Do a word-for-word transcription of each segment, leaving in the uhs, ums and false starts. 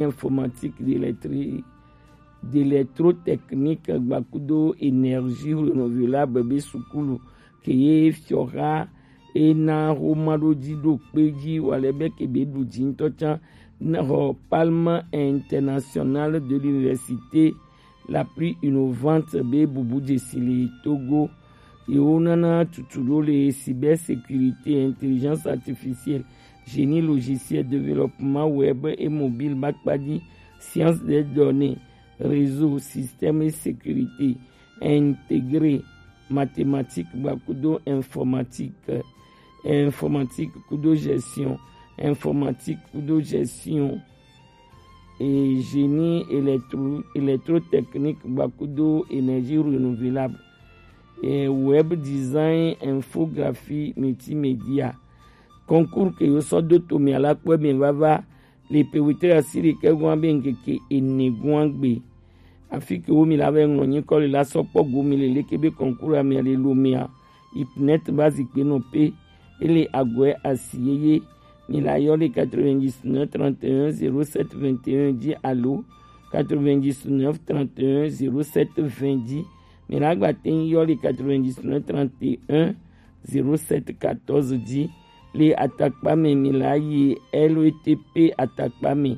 informatique, d'électri-, d'électrotechnique gbakudo énergie renouvelable be sukulu ke ye fiɔha e na ho ma ɖo ji ɖo kpe ji wa le be ke be ɖu ji ŋutɔ can na xɔ Palme Internationale de l'Université la plus innovante be bubu dzesi le Togo. Yewo nana tutu ɖo le cybersécurité, intelligence artificielle, génie logiciel, développement web et mobile, bakpaji, science des données, réseau, système et sécurité intégrée, mathématique gbakudo informatique, informatique kudo gestion, informatique kudo gestion, et génie électro-, électrotechnique gbakudo énergie renouvelable, et web design, infographie, multimédia. Concours ke yo sɔ do to mi ala kpɔ mi vava le pe wetri asi ɖekɛ gɔn be ŋkeke ene gɔn gbe. Afi ke wo mi la vɛ ŋlɔ nyikɔ le la sɔ kpɔ go mi le leke be concours a mi le lo mi a. Ipnet ba zikpe nɔ pe. Ele agɔɛ asi yeye. Mi la yɔ le quatre-vingt-dix-neuf trente et un zéro sept vingt et un dzi alo quatre-vingt-dix-neuf trente et un zéro sept vingt dzi. Mi la gba te yɔ le quatre-vingt-dix-neuf trente et un zéro sept quatorze dzi. Le atakpa me mi la yi L E T P atakpa me.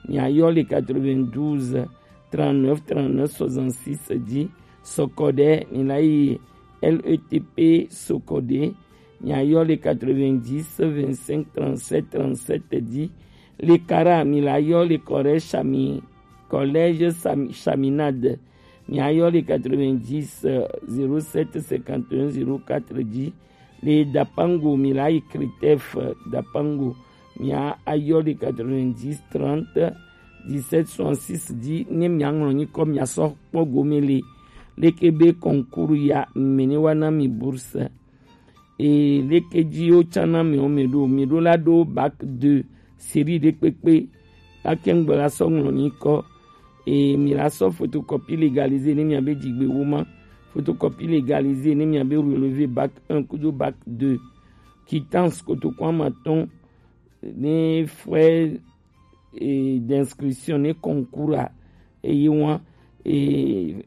Mi ayɔ le quatre-vingt-douze trente-neuf trente-neuf soixante-six dzi. Sokode mi la yi L E T P Sokode. Mi ayɔ le quatre-vingt-dix vingt-cinq trente-sept trente-sept dzi. Le Kara mi la yɔ le Kɔrɛ Chami-, Collège Chami-, Chaminade. Mi ayɔ le quatre-vingt-dix zéro sept cinquante et un zéro quatre dzi. Le Dapango mi la yi Critef Dapango. Mi ayɔ le quatre-vingt-dix trente dix-sept soixante-six dzi. Ne mi aŋlɔ nyikɔ mi asɔ kpɔ gome le leke be concours ya mene wa na mi bourse. E leke dzi wo tsana mi wo mi ɖo, mi ɖo la ɖo bac deux série ɖe kpekpe. Ake ŋgbe la sɔ ŋlɔ nyikɔ. E mi la sɔ photocopie légalisé ne mi abe dzigbe wo ma. Photocopie légalisé ne mi abe relevé bac un kudo bac deux. Quittance kotoku amatɔn ne frais, e, d'inscription ne concours a. Eye wa, e,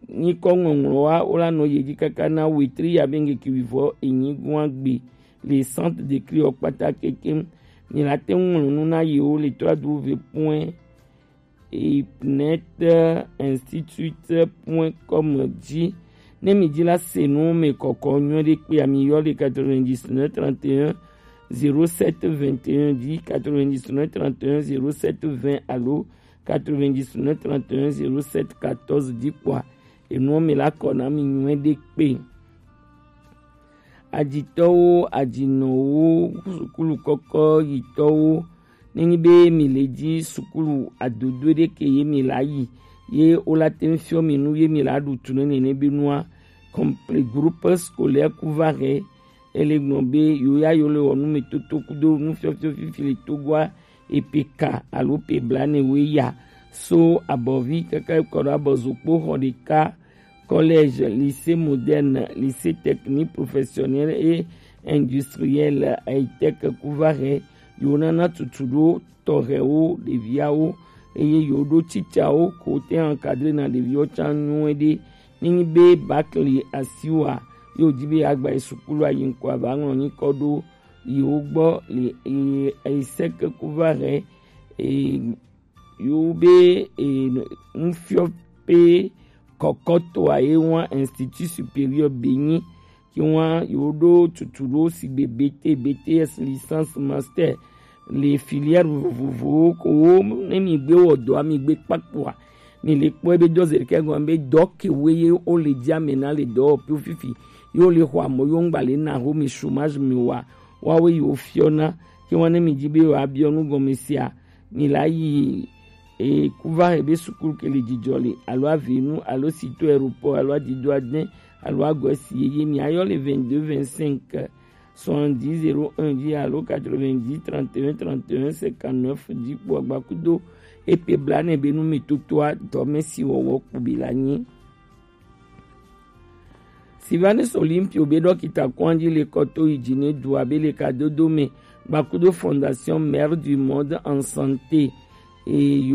nyikɔ ŋɔŋlɔ wa wo la nɔ ye dzi kaka na wetri ya be ŋkeke wivɔ enyi gɔn gbe le centre d'écrit ɔ kpata kekeŋ. Mi la te ŋlɔ nu na yewo le trois W point ipnet institute point com dzi. Ne mi dzi la se nu me kɔkɔ nyuie ɖe kpea mi yɔ le quatre-vingt-dix-neuf trente et un zéro sept vingt et un dzi, quatre-vingt-dix-neuf trente et un zéro sept vingt alo quatre-vingt-dix-neuf trente et un zéro sept quatorze dzi kpɔa, enuɔ mi la kɔ na mi nyuie ɖe kpe. Ajitɔwo, ajinɔwo, sukulu kɔkɔ yitɔwo, ne nyi be mi le dzi sukulu adodo ɖe ke ye mi la yi, ye wo la te ŋu fiɔ mi nu ye mi la ɖu tu ne nene be nua, complet groupe scolaire Couvaré, ele gblɔ be yo ya yo le wɔ nu me toto kudo nufiɔfiɔ fifi le Togoa, epe ka alo pe blaene woe ya so abɔvi kaka kɔ ɖo abɔ zokpo xɔ ɖeka, collège, lycée moderne, lycée technique professionnel et industriel, high-tech Couvaré, yo nana tutu ɖo tɔxɛwo, ɖeviawo, eye yo ɖo titsawo ko te encadrer na ɖeviwo can nyuie ɖe. Ne nyi be bac li asiwa, yo di be agba yi sukulu ayi ŋkɔ ava ŋlɔ nyikɔ ɖo yewo gbɔ le, e, e, sec Couvaré, e, yewo be, e, nufiɔƒe kɔkɔtɔa ye wa Institut Supérieur Benyi, ke wa yewo ɖo tutu ɖo sigbe B T, B T S, licence, master, le filière vovovowo ko wo ne mi gbe wɔ dɔa mi gbe kpakpoa, mi le kpɔe be dɔ zeɖekɛ gɔme be dɔ ke woe ye wo le dzi ame na le dɔwɔƒewo fifi, ye wo le xɔ amɔ ye wo ŋgba le na ho mi chômage mi wa, woawoe yi wo fiɔna. Ke wa ne mi dzi be yewoabiɔ nu gɔme sia, mi la yi, e, Couvaré be sukulu ke le Djidjolé alo Avenu alo Citeaux Aéroport alo Adido Adin alo Agoès yeye, mi ayɔ le vingt-deux vingt-cinq soixante-dix zéro un dzi alo quatre-vingt-dix trente et un trente et un cinquante-neuf dzi kpo agbakudo epe blanɛ be nu mi totoa dɔmesi wɔwɔ kpo bi la nyi. Sylvanus Olympio be dɔkita kɔn dzi le kɔto yi dzi ne du abe le kadodo me gbakudo Fondation Mère du Monde en Santé. Eyo.